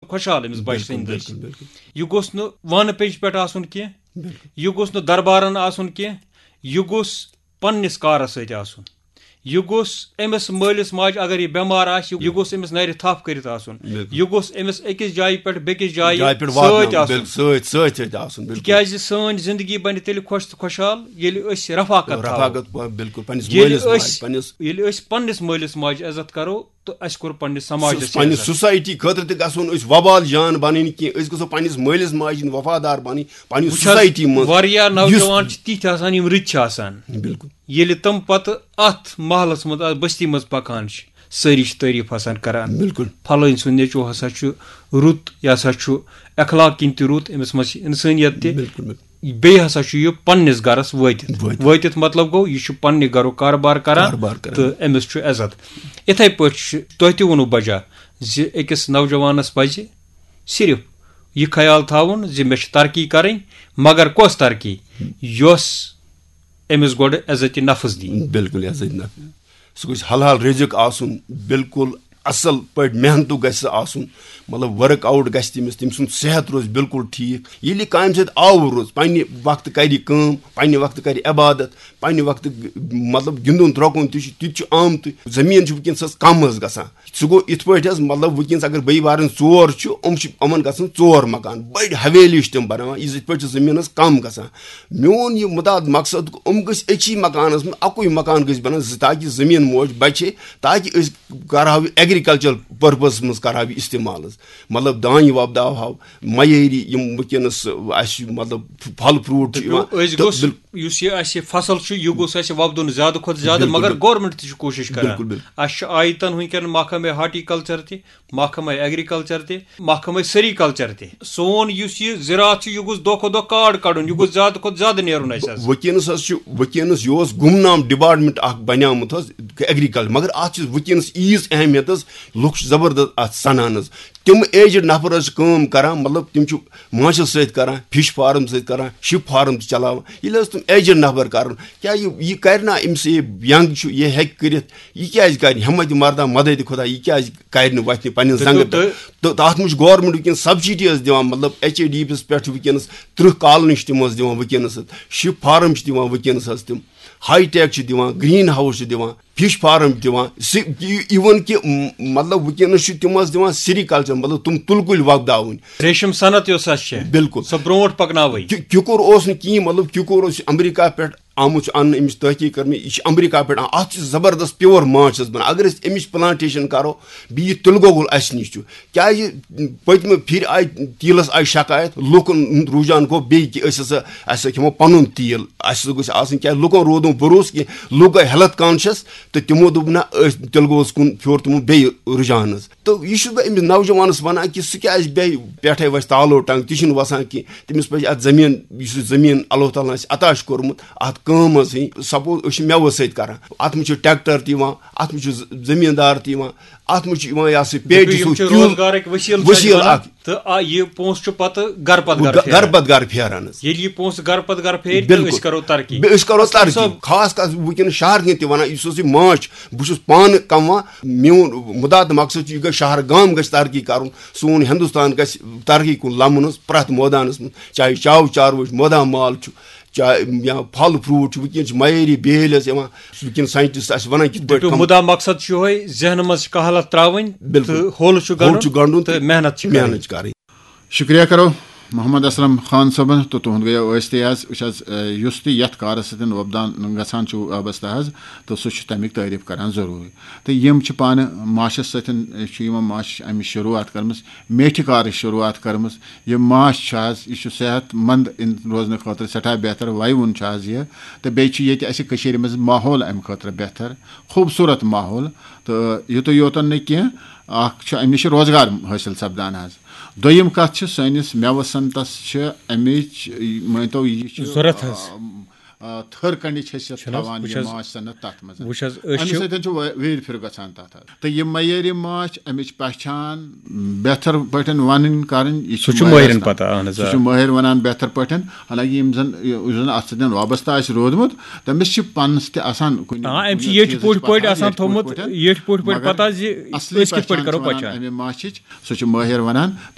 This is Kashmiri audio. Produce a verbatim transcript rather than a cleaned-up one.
خۄشحال أمِس بَچہِ سٕنٛدِ دٔسۍ۔ یہِ گوٚژھ نہٕ وانہٕ پیٚنٛجہِ پٮ۪ٹھ آسُن کینٛہہ، یہِ گوٚژھ نہٕ دربارن آسُن کینٛہہ، یہِ گوٚژھ پننِس کارس سۭتۍ آسُن۔ یہِ گوٚژھ أمِس مٲلِس ماجہِ، اگر یہِ بٮ۪مار آسہِ، یہِ گوٚژھ أمِس نرِ تھپھ کٔرِتھ آسُن۔ یہِ گوٚژھ أمِس أکِس جایہِ پٮ۪ٹھ بیٚکِس جایہِ جایہِ پٮ۪ٹھ سۭتۍ واتناوُن، آسُن۔ بِل-، سۭتۍ، سۭتۍ، سۭتۍ آسُن، بِلکُل۔ تِکیٛازِ سٲنۍ زندگی بنہِ تیٚلہِ خۄش تہٕ خۄشحال، ییٚلہِ أسۍ رفاقت تھاوو۔ رفاقت، بِلکُل، پننِس ییٚلہِ مٲلِس ماجہِ، أسۍ، پننِس ییٚلہِ أسۍ پننِس مٲلِس ماجہِ عزت کرو، تہٕ اَسہِ کوٚر پننِس سماجس تہِ پننِس عزت۔ سوسایٹی خٲطرٕ تہِ گژھو نہٕ أسۍ وبال جان بنٕنۍ کینٛہہ، أسۍ گژھو پننِس مٲلِس ماجہِ ہٕنٛدۍ وفادار بنٕنۍ، پننہِ وٕچھ حظ، سوسایٹی منٛز۔ واریاہ یُس نوجوان چھِ تِتھۍ آسان، یِم رٕتۍ چھِ آسان۔ بِلکُل۔ ییٚلہِ تِم پتہٕ اتھ محلس منٛز، اتھ بستی منٛز پکان چھِ، سٲری چھِ تعریٖف آسان کران۔ بِلکُل۔ فلٲنۍ سُنٛد نیٚچو ہسا چھُ رُت، یہِ ہسا چھُ اخلاق کِنۍ تہِ رُت، أمِس منٛز چھِ انسٲنیت تہِ۔ بِلکُل، بِلکُل۔ بیٚیہِ ہسا چھُ یہِ پننِس گرس وٲتِتھ۔ وٲتِتھ۔ وٲتِتھ مطلب گوٚو، یہِ چھُ پننہِ گرُک کاربار کران کاربار کران۔ تہٕ أمِس چھُ عزت۔ یِتھے پٲٹھۍ چھُ، تۄہہِ تہِ ووٚنوُ بجا زِ أکِس نوجوانس پزِ صرف یہِ خیال تھاوُن زِ مےٚ چھِ ترقی کرٕنۍ، مگر کۄس ترقی؟ یۄس أمِس گۄڈٕ عزت نفس دی۔ بِلکُل، عزت نفس۔ سُہ گژھِ حلال رزق آسُن، بِلکُل اصل پٲٹھۍ محنتُک گژھِ سُہ آسُن، مطلب ورک آوُٹ گژھِ تٔمِس، تٔمۍ سُنٛد صحت روزِ بِلکُل ٹھیٖک۔ ییٚلہِ یہِ کامہِ سۭتۍ آوُر روزِ، پننہِ وقتہٕ کرِ کٲم، پننہِ وقتہٕ کرِ عبادت، پننہِ وقتہٕ، مطلب، گِنٛدُن درٛۄکُن تہِ چھُ، تہِ تہِ چھُ آمتُے۔ زٔمیٖن چھُ وٕنکیٚنس حظ کم حظ گژھان۔ سُہ گوٚو یِتھ پٲٹھۍ حظ، مطلب، وٕنکیٚنس اگر بٔے بارٕنۍ ژور چھِ، یِم چھِ، یِمن گژھن ژور مکان، بٔڑۍ حویلی چھِ تِم بناوان، یہِ یِتھ پٲٹھۍ چھِ زٔمیٖنس کم گژھان۔ میون یہِ مُداد مقصد، یِم گٔژھۍ أکسی مکانس منٛز، اکُے مکان گٔژھۍ بنان، زِ تاکہِ زٔمیٖن موج بچے، تاکہِ أسۍ کرہاو یہِ ایگریکلچر پرپز منٛز کرہاو یہِ استعمال حظ۔ مطلب، دانہِ وۄپداوہاو، میٲری یِم وٕنکیٚنس اَسہِ، مطلب، پھل فروٹ چھُ دٔپِو، یِوان۔ أسۍ تہٕ گوٚژھ، بِل-، یُس یہِ اَسہِ فصل چھُ، یہِ گوٚژھ اَسہِ وۄپدُن زیادٕ کھۄتہٕ زیادٕ، بِلکُل، مگر بِلکُل۔ گورنمنٹ تہِ چھُ کوٗشِش کران۔ بِلکُل، بِلکُل۔ اَسہِ چھُ آیتن وٕنکیٚن محکمے ہارٹیکلچر تہِ، محکمے ایگریکلچر تہِ، محکمے سیریکلچر تہِ۔ سون یُس یہِ زراعت چھُ، یہِ گوٚژھ دۄہ کھۄتہٕ دۄہ کاڈ کڑُن، یہِ گوٚژھ زیادٕ کھۄتہٕ زیادٕ نیرُن اَسہِ حظ۔ وٕنکیٚنس حظ چھُ، وٕنکیٚنس یہِ اوس گمنام ڈپارٹمنٹ اکھ بنیومُت حظ، ایگریکلچر، مگر اتھ چھِ وٕنکیٚنس ییٖژ اہمیت حظ، لُکھ چھِ زبردست اتھ سنان حظ۔ تِم ایجڈ نفر حظ چھِ کٲم کران، مطلب، تِم چھِ ماچھس سۭتۍ کران، فش فارم سۭتۍ کران، شپ فارم تہِ چلاوان۔ ییٚلہِ حظ تِم ایجڈ نفر کرن، کیٛاہ یہِ، یہِ کرِ نا أمِس، یہِ ینگ چھُ، یہِ ہیٚکہِ کٔرِتھ، یہِ کیٛازِ کرِ؟ ہمت مردہ مدد خدا، یہِ کیٛازِ کرِ نہٕ وۄتھِ نہٕ پننٮ۪ن تہٕ زنگن تہٕ پٮ۪ٹھ؟ تہٕ اتھ منٛز چھُ گورنمنٹ وٕنکیٚنس سبسڈی حظ دِوان، مطلب، ایچ اے ڈی پی یس پٮ۪ٹھ چھُ وٕنکیٚنس ترٕٛہ کالنی چھِ تِم حظ دِوان وٕنکیٚنس حظ، شپ فارم چھِ دِوان وٕنکیٚنس حظ تِم، ہائی ٹیک چھِ دِوان، گرین ہاؤس چھِ دِوان، فش فارم چھِ دِوان، سی-، ایون کہِ م-، مطلب وٕنکیٚنس چھِ تِم حظ دِوان سیریکلچر، مطلب تِم تُلہٕ کُلۍ وۄپداوٕنۍ۔ ریشم صنعت یۄس اَسہِ چھےٚ، بِلکُل۔ سۄ برونٛٹھ پکناوٕنۍ۔ کہِ-، کِکُر اوس نہٕ کِہیٖنۍ، مطلب کِکُر اوس یہِ امریکہ پٮ۪ٹھ آمُت چھُ اننہٕ، أمِس چھِ تحقیق کٔرمٕژ، یہِ چھِ امریکہ پٮ۪ٹھ آمُت، اتھ چھِ زبردست پیور ماچھ حظ بنان۔ اگر أسۍ امِچ پلانٹیشن کرو، بیٚیہِ یہِ تِلہٕ گۄگُل اسہِ نِش چھُ، کیازِ پٔتمہِ پھِرِ آیہِ تیٖلس آیہِ شکایت، لُکن ہُنٛد رُجحان گوٚو بیٚیہِ کہِ أسۍ ہسا، اسہِ ہسا کھٮ۪مو پنُن تیٖل، اسہِ ہسا گوٚژھ آسُن، کیازِ لُکن روٗد نہٕ بروسہٕ کینٛہہ، لُکھ گٔے ہیلتھ کانشس تہٕ تِمو دوٚپ نہ، أسۍ تِلہٕ گۄگلس کُن پھیوٗر تِمو بیٚیہِ رُجحان حظ۔ تہٕ یہِ چھُس بہٕ أمِس نوجوانَس وَنان کہِ سُہ کیٛازِ بیٚہہِ پٮ۪ٹھَے وَسہِ تالو ٹنٛگ، تہِ چھُنہٕ وَسان کینٛہہ۔ تٔمِس پَزِ اَتھ زٔمیٖن، یُس یہِ زٔمیٖن اللہ تعالیٰ ہَن اَسہِ عطا چھُ کوٚرمُت، اَتھ کٲم حظ ہیٚنۍ۔ سپوز أسۍ چھِ مٮ۪وَس سۭتۍ کَران، اَتھ منٛز چھُ ٹرٛیکٹَر تہِ یِوان، اَتھ منٛز چھُ ز-، زٔمیٖندار تہِ یِوان، اَتھ منٛز چھُ یِوان یہِ ہسا یہِ پیٹہِ دٔپِو، یِم سُہ چھِ تیوٗل، روزگارٕکۍ ؤسیٖلہٕ چھِ اَسہِ وسیٖلہٕ بَنان۔ اَکھ۔ تہٕ آ، یہِ پونٛسہٕ چھُ پَتہٕ گَرٕ پَتہٕ گَرٕ گَ-، پھیران۔ گَرٕ پَتہٕ گَرٕ پھیران حظ۔ ییٚلہِ یہِ پونٛسہٕ گَرٕ پَتہٕ گَرٕ پھیرِ، تہٕ بِلکُل۔ أسۍ کَرو ترقی۔ بِ-، أسۍ کَرو اَسلَم ترقی۔ صٲب۔ خاص کَر وٕنکیٚنَس شہرٕ کٮ۪ن تہِ وَنان، یُس حظ یہِ ماچھ، بہٕ چھُس پانہٕ کَماوان، میون مُدا تہٕ مقصد چھُ، یہِ گژھِ شہر گام گژھِ ترقی کَرُن، سون ہِندُستان گژھِ ترقی کُن لَمُن حظ، پرٛٮ۪تھ مٲدانَس منٛز، چاہے چاو چاروٲے چھُ، مٲدان مال چھُ، چاہے یا پھل فروٹ چھُ، وٕنکیٚن چھِ معیٲری بیٲلۍ حظ یِوان، وٕنکیٚن ساینٹسٹ آسہِ وَنان کِتھ پٲٹھۍ دٔپِو، کَم۔ مُدا مقصد چھُ یِہوٚے، ذہنہٕ منٛز چھِ کہلت ترٛاوٕنۍ، بِلکُل۔ تہٕ ہوٚل چھُ ہوٚل گنٛڈُن، چھُ گنٛڈُن تہٕ تہٕ محنت چھِ کَرٕنۍ۔ محنت چھِ کَرٕنۍ۔ شُکریہ کَرو محمد اسلم خان صٲبَن تہٕ تُہُنٛد گٔیو ٲسۍ تہِ حظ۔ وٕچھ حظ، اے، یُس تہِ یَتھ کارَس سۭتۍ وۄپدان گژھان چھُ وابستہٕ حظ، تہٕ سُہ چھُ تَمیُک تعریٖف کَران ضروٗری۔ تہٕ یِم چھِ پانہٕ ماچھَس سۭتۍ، اے، چھُ یِمَن ماچھَس چھِ اَمِچ شروٗعات کٔرمٕژ، میٹھِ کارٕچ شروٗعات کٔرمٕژ۔ یہِ ماچھ چھُ حظ، یہِ چھُ صحت مند اِن-، روزنہٕ خٲطرٕ سٮ۪ٹھاہ بہتر۔ وَیوُن چھُ حظ یہِ، تہٕ بیٚیہِ چھُ ییٚتہِ اَسہِ کٔشیٖرِ منٛز ماحول اَمہِ خٲطرٕ بہتر، خوٗبصوٗرت ماحول۔ تہٕ یُتُے یوت نہٕ کینٛہہ، اَکھ چھُ اَمہِ نِش روزگار حٲصِل سَپدان حظ۔ دوٚیِم کَتھ چھِ، سٲنِس مٮ۪وَس صنعتَس چھِ اَمِچ، مٲنۍ تو، یہِ چھُ، ضوٚرَتھ حظ۔ آ، آ، تھٔر کنڈِچ حیثیت چھُنہٕ حظ؟ تھاوان وٕچھ یہِ حظ، ماچھ سنت تتھ منٛز۔ وٕچھ حظ، أسۍ امہِ چھِ سۭتۍ چھُ وے- ویرِ پھِرِ گژھان تتھ حظ۔ تہٕ یہِ میٲرِ ماچھ، امِچ پہچان بہتر پٲٹھۍ ونٕنۍ کرٕنۍ، یہِ سُہ چھُ مٲہرن پتہ، اہن حظ، سُہ آ۔ چھُ مٲہر ونان بہتر پٲٹھۍ۔ حالانکہ یِم زن، یُس زن اتھ سۭتۍ وابستہٕ آسہِ روٗدمُت، تٔمِس چھِ پانس تہِ آسان کُنہِ، آ، أمۍ چھِ کُنہِ ییٚتہِ چیٖزٕچ پٲٹھۍ پتہ، پٲٹھۍ آسان ییٚتہِ پٲٹھۍ تھوٚومُت، پٲٹھۍ۔ ییٚتہِ پٲٹھۍ پٲٹھۍ مگر پتہ زِ اصلی أسۍ کِتھ پٲٹھۍ پہچان کرو چھِ ونان پہچان۔ امہِ ماچھِچ، سُہ چھُ مٲہر ونان۔